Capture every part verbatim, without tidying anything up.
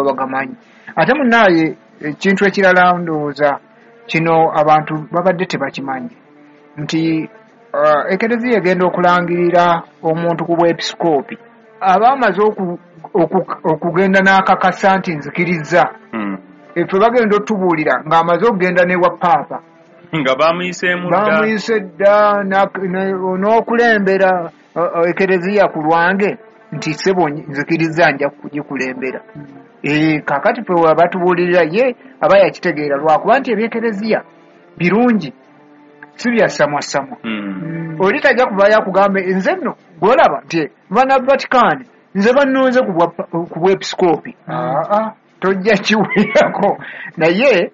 bagamanyi. Ate munnaye ekintu ekirala ndowooza kino abantu babadde tebakimanyi nti uh, ekereziya egenda okulangirira omuntu ku bwepisikoopi aba amaze okugenda n'akakasa nti nzikiriza. Mm. Efe bagenda otubuulira ng'amaze okugenda n'ewa paapa nga bamuyiseemu dda, bamuyise dda n'okulembera ekereziya ku lwange nti ssebo nzikiriza nja kugikulembera. Mm. E, kakati fe batubuulirira ye aba yakitegeera lwakuba nti ebyekereziya birungi si bya samwasamwa. Mm. Oli tajja kuvayo akugambe nze nno gw'olaba nti bana Vatican nze bannonze ku bwepisikoopi. Aa, tojja kiwulirako. Naye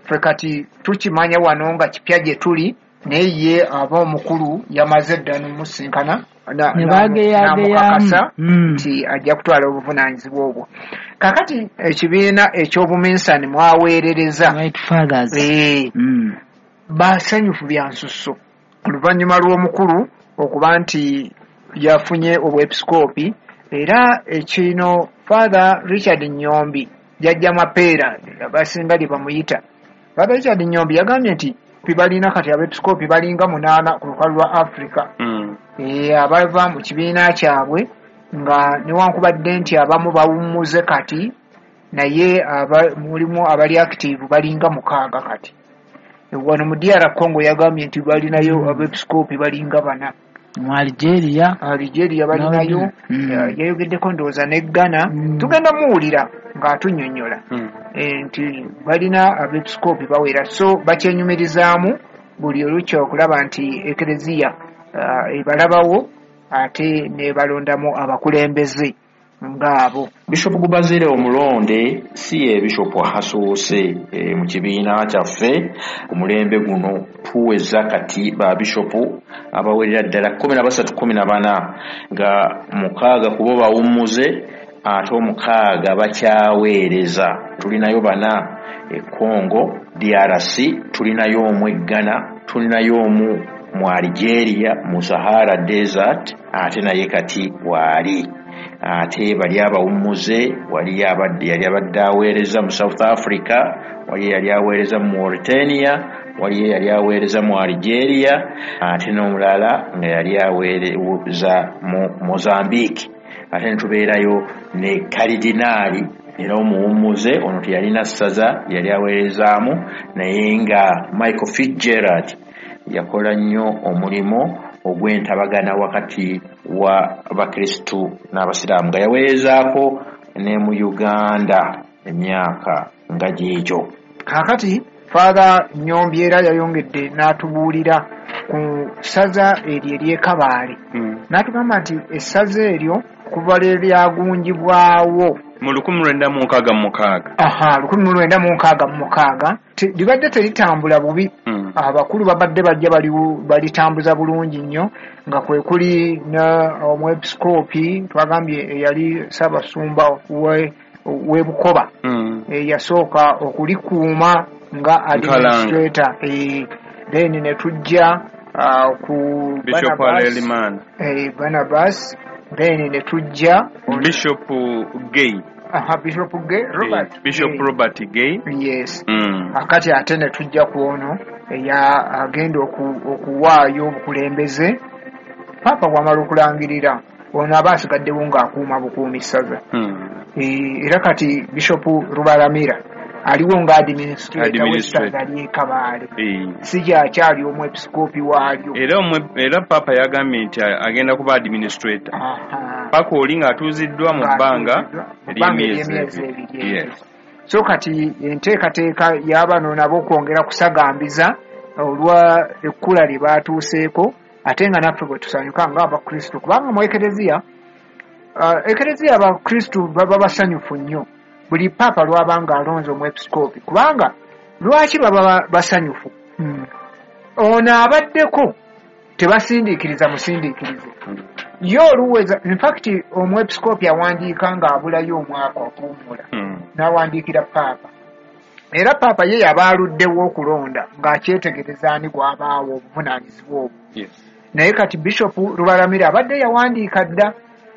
ffe kati tukimanya wano nga kipya gye tuli, naye ye aba omukulu yamaze dda n'omusinkana namukakasa nti ajja kutwala obuvunaanyizibwa obwo. Kakati ekibiina eky'obuminsani mwaweerereza basanyufu bya nsusso oluvannyuma lw'omukulu okuba nti yafunye obwepisikoopi. Era ekino Father Richard Nyombi jjajja Mapeera abasinga lye bamuyita, Father Richard Nyombi yagambye nti balina kati abepisikoopi balinga munaana ku lukalu lwa Africa. Mm. E, abava mu kibiina kyabwe nga newankubadde nti abamu bawummuze kati, naye aba, mulimu abali active balinga mukaaga kati. Wano mu D R Congo yagambye nti balinayo abepisikoopi balinga bana. Mu Algeria, Algeria balinayo. Mm. Yayogeddeko ndowooza ne Ghana. Mm. Tugenda muwulira ng'atunnyonnyola. Mm. E, nti balina abepisikoopi bawera, so bakyenyumirizaamu buli olukya okulaba nti ekereziya uh, ebalabawo ate ne balondamu abakulembeze ng'abo. Bishop Gubazire omulonde si ye Bishop asoose e, mu kibiina kyaffe ku mulembe guno. Tuweza kati ba Bishop abawerera ddala kkumi na basatu kkumi na bana nga mukaaga kubo bawummuze ate omukaaga bakyaweereza. Tulinayo bana e Congo D R C, tulinayo omu e Ghana, tulinayo omu mu Algeria mu Sahara Desert ate naye kati waali. Ate bali abawummuze wali abadde yali abadde aweereza mu South Africa, wali yali aweereza mu Mauritania, wali yali aweereza mu Algeria, ate n'omulala nga yali aweereza mu Mozambique. Ate ne tubeerayo ne Kalidinaali era omuwummuze ono teyalina ssaza yali aweerezaamu, naye nga Michael Fitzgerald yakola nnyo omulimu ogw'entabagana wakati wa Abakristu n'Abasiraamu nga yaweerezaako ne mu Uganda emyaka nga gyegyo. Kaakati Father Nyombi era yayongedde n'atubuulira ku ssaza eryo ery'e Kabaale. Mm. N'atugamba nti essaza eryo kuva lwe lyagunjibwawo mu lukumi lwenda mu nkaaga mu mukaaga. Aha, lukumi lwenda mu nkaaga mu mukaaga libadde teritambula bubi. Mm. Abakulu babadde bajja balitambuza bulungi nnyo nga kwe kuli omwepisikoopi twagambye eyali Ssaabasumba we we Bukoba. Mm. E, yasooka okulikuuma nga administrator. E, then ne tujja uh, ku Bishop Alelimana, e, Barnabas, then ne tujja Bishop Gay. Aha, Bishop Gay, Robert. Eh, Bishop Gay. Robert Gay. Yes. Mm. Akati ate ne tujja ku ono eya agenda okuwaayo obukulembeze. Papa bw'amala okulangirira ono aba asigaddewo ng'akuuma bukuumi ssaza. Mm. E, era kati Bishop Rubaramira aliwo nga administrator w'essaza ly'e Kabaale. E. Si gyakyali omwepisikoopi waalyo. Era omwe, era Papa yagambye nti agenda kuba administrator. Aha. Paka oli ng'atuuziddwa mu bbanga ery'emyezi ebiri. Yes. So kati enteekateeka y'abano nabo okwongera kusagambiza olwa ekkula lye baatuuseeko, ate nga naffe bwe tusanyuka ng'Abakristu, kubanga mu ekereziya uh, ekereziya Abakristu baba basanyufu nnyo buli Paapa lw'abanga alonze omwepisikoopi. Kubanga lwaki baba basanyufu? Mm. Ono abaddeko tebasindiikiriza musindiikirize. Mm. Ye oluweza, in fact omwepisikoopi awandiika ng'abulayo omwaka okuwummula. Mm. N'awandiikira Paapa. Era Paapa ye yaba aluddewo okulonda ng'akyetegereza ani gw'abaawo obuvunaanyizibwa obwo. Yes. Naye kati Bishop Rubaramira abadde yawandiika dda,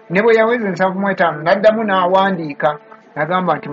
ne bwe yaweza ensanvu mu etaano n'addamu n'awandiika n'agamba nti